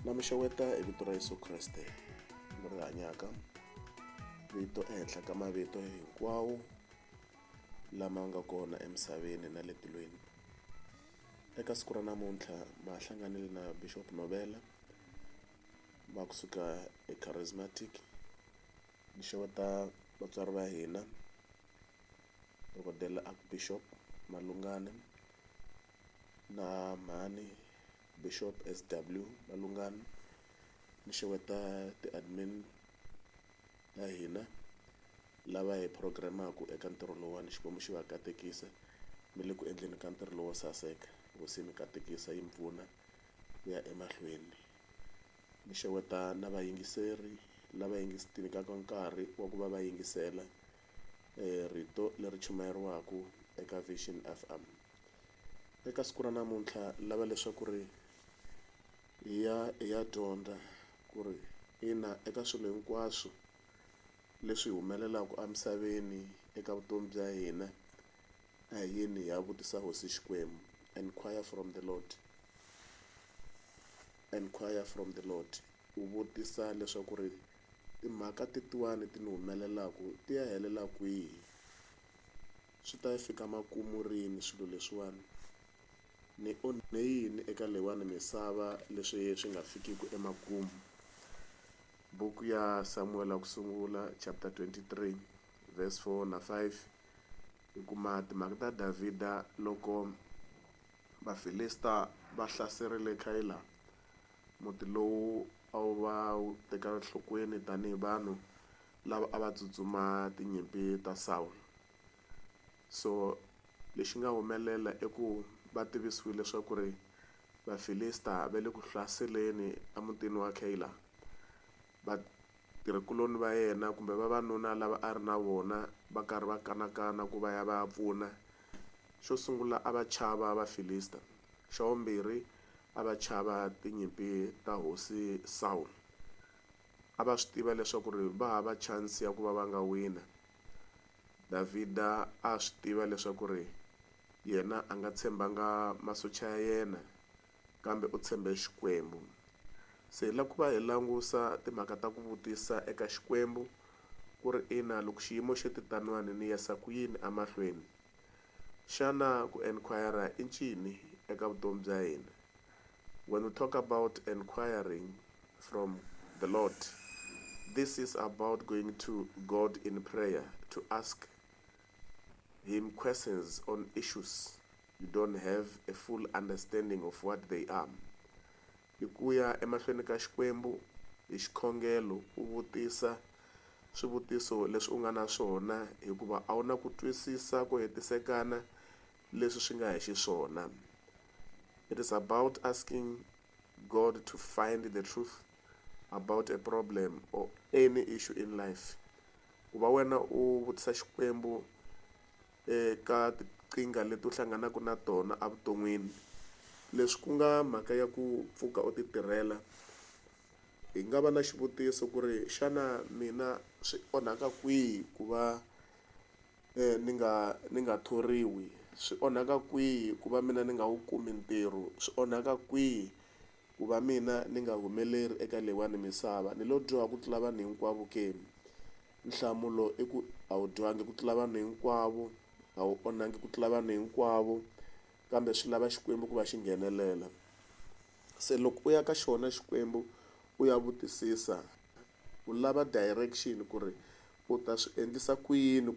Na mi xeweta hi vito ra Yeso Kreste leri hanyaka, vito ehenhla ka mavito hinkwawo lama nga kona emisaveni na le tilweni. Eka siku ra namuntlha ma ha hlanganile na Bishop Novela va kusuka eCharismatic. Ni xeweta vatswari va hina dokodela Archbishop Malungani na mhani Bishop S_W Malungani. Ni xeweta ti-admin ta hina lava hi program-aku eka ntirho lowuwani Xikwembu xi va katekisa mi le ku endleni ka ntirho lowo saseka hosi yi mi katekisa yi mi pfuna ku ya emahlweni. Ni xeweta na vayingiseri lava ti nyikaka nkarhi wa ku va va yingisela rito leri chumayeriwaka eka Vision F_M. Eka siku ra namuntlha lava leswaku ri hi ya hi ya dyondza ku ri ina eka swilo hinkwaswo leswi humelelaka emisaveni eka vutomi bya hina a hi yeni hi ya vutisa hosi Xikwembu enquire from the Lord, enquire from the Lord. U vutisa leswaku ri timhaka tetiwani ti ni humelelaka ti ya helela kwihi, swi ta fika makumu rini swilo leswiwani, ni onhe yini eka leyiwani misava leswi swi nga fikiki emakumu. Buku ya Samuel wa ku sungula chapter 23 verse 4 na 5 hi kuma timhaka ta Davhida loko Vafilista va hlaserile Kayila muti lowu a wu va wu tekela enhlokweni tanihi vanhu lava a va tsutsuma tinyimpi ta Sawulo. So lexi nga humelela i ku va tivisiwile leswaku ri Vafilista va le ku hlaseleni emutini wa Kayila. Vatirhikuloni va yena kumbe vavanuna lava a ri na vona va karhi va kanakana ku va ya va ya pfuna. Xo sungula a va chava Vafilista, xa vumbirhi a va chava tinyimpi ta hosi Sawulo. A va swi tiva leswaku ri va hava chance ya ku va va nga wina. Davhida a swi tiva leswaku ri yena a nga tshembanga masocha ya yena kambe u tshembe Xikwembu. Se hi lava ku va hi langusa timhaka ta ku vutisa eka Xikwembu ku ri ina loko xiyimo xi te taniwani ni yisa ku yini emahlweni. Xana ku enquire i ncini eka vutomi bya hina? When we talk about enquiring from the Lord, this is about going to God in prayer to ask him questions on issues you don't have a full understanding of what they are. I ku ya emahlweni ka Xikwembu hi xikhongelo u vutisa swivutiso leswi u nga na swona hikuva a wu na ku twisisa ku hetisekana leswi swi nga hi xiswona. It is about asking God to find the truth about a problem or any issue in life. Ku va wena u vutisa Xikwembu eka tinkingha leti u hlanganaka na tona evuton'wini leswi ku nga mhaka ya ku pfuka u ti tirhela hi nga va na xivutiso ku ri xana mina swi onhaka kwihi ku va ni nga ni nga thoriwi, swi onhaka kwihi ku va mina ni nga wu kumi ntirho, swi onhaka kwihi ku va mina ni nga humeleri eka leyiwani misava ni lo dyoha ku tlula vanhu hinkwavo ke? Nhlamulo i ku a wu dyohangi ku tlula vanhu hinkwavo, a wu onhangi ku tlula vanhu hinkwavo kambe swi lava Xikwembu ku va xi nghenelela. Se loko u ya ka xona Xikwembu u ya vutisisa u lava direction ku ri u ta swi endlisa ku yini.